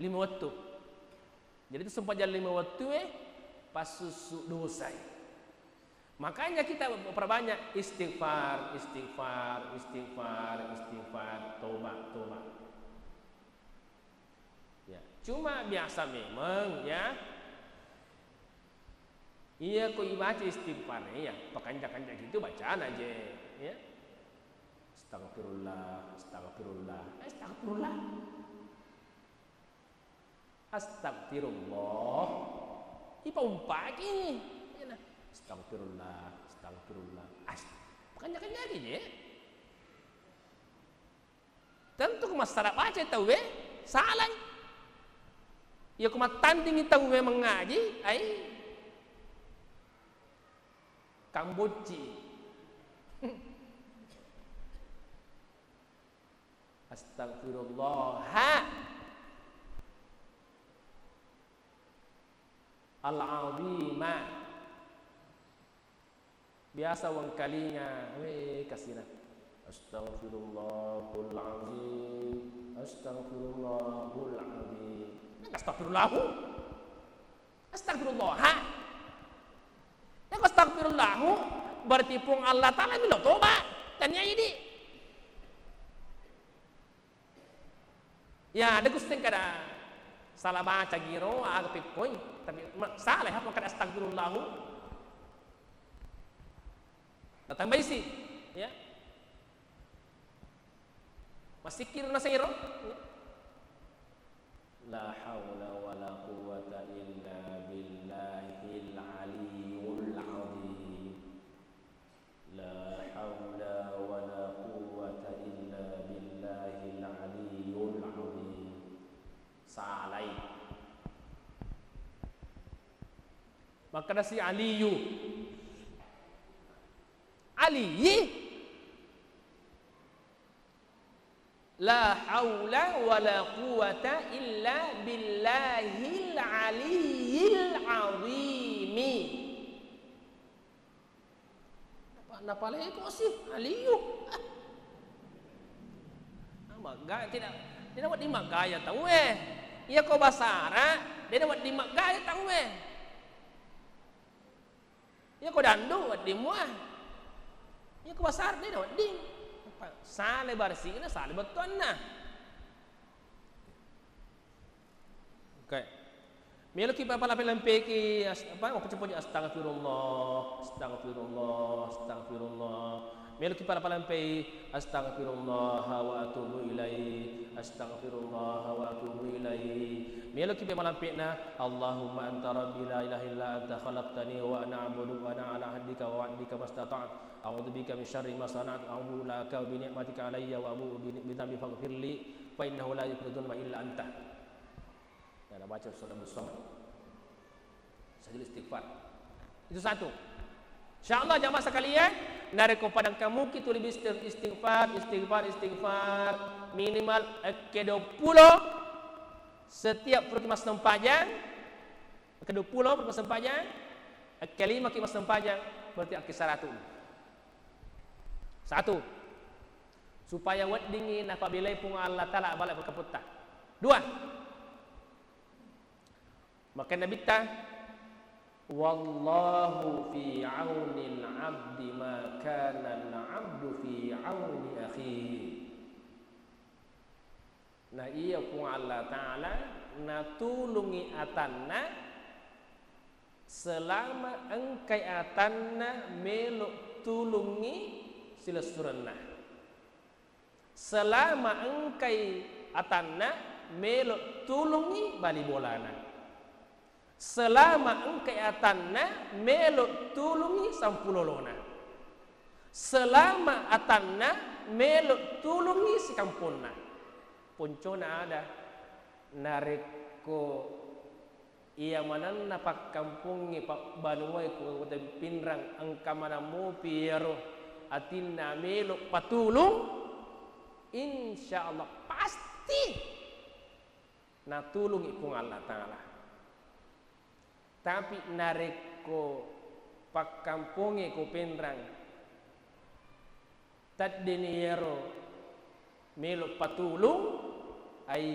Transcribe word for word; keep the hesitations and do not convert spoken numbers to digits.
Lima wettu. Jadi itu sempajang lima wettu e passussu dosai. Makanya kita perbanyak istighfar, istighfar, istighfar, istighfar, toba, toba. Ya, cuma biasa memang ya. Iya ko ibaca istighfar ya, pakanja-kanja gitu bacana je, ya. Astagfirullah, astagfirullah, astagfirullah. Astagfirullah. Ipaumpaki. Iyana. Astagfirullah, astagfirullah. Ast-, kanya-kanyaki je. Tentu ko massala baca tauwe, salai. Iya ko mattandingi tauwe mengaji, ai kambocci. Astagfirullah al-azima. Biasa wengkalinga, we kasina. Astagfirullahul azim. Astagfirullahul azim. Nang astagfirullahu. Astagfirullah. Nako astagfirullahu, berarti Puang Allah Ta'ala melo toba. Tania idi. Ya, ada gusteng kada salah baca giro, aga pikkoi. Tapi ma-, salah apa kada astagfirullahu. Nah, tambah isi, ya. Masikir na sero. La haula wala quwwata illa billahil aliyyil azim. La haula wala quwwata illa billahil aliyyil azim. Salai. Makkedasi Aliyu. Aliyi. La haula wala quwwata illa billahil aliyyil azimi. Napa, napaleko sih Aliyu? Ah. Magga-, tidak, tidak wedding maggaya tauwe. Iya ko basara, tidak wedding maggaya tauwe. Iya ko dandu wedding mua. Iya ko basara dena wedding. Sale barsina, sale bettuanna. Oke. Meloki papala-, palampeki as-, apa, makkucappuji astagfirullah, astagfirullah, astagfirullah. Meloki pala-, palampei, astagfirullah wa atubu ilaih, astagfirullah wa atubu ilaih. Meloki pe malampena, Allahumma anta rabbi la ilaha illa anta khalaqtani wa ana abduka wa ana ala ahdika wa wa'dika mastata'tu. A'udzu bika min syarri ma sana'tu. A'udzu laka bi ni'matika alayya wa abu'u bi, bi dzambi faghfirli fa innahu la yaghfiru dzunuba illa anta. Ya, nabaca surah Muhammad. Sajil istighfar. Itu satu. Insyaallah jamaah sekalian, narekko pada engka muki tuli isti-, istighfar, istighfar, istighfar minimal ekke dua puluh setiap puraki massempajang, ekke dua puluh puraki massempajang, ekke lima ki massempajang, berarti ekke saratu. Satu. Supaya weddingngi napabelai Puang Allah Taala bala ri kamputta. Dua. Makkeda Nabitta, "Wallahu fi aunil abdi ma kana al abdu fi auni akhihi." Na iya Puang Allah Taala natulungngi atanna selama engkai atanna melo tulungngi silessurenna. Selama engkai atanna melo tulungngi bali bolana. Selama engkai atanna melo tulungngi sampulolona. Selama atanna melo tulungngi sikamponna. Poncona ada, narekko iya manenna pakkampongnge, pabbanuae, Kabupaten Pinrang engka maneng mopi iyaro atinna melo patulung, insyaallah pasti natulungngi Puang Allah Taala. Tapi narekko pakkampongnge ko Pinrang, teddeni iyaro melo patulung, ai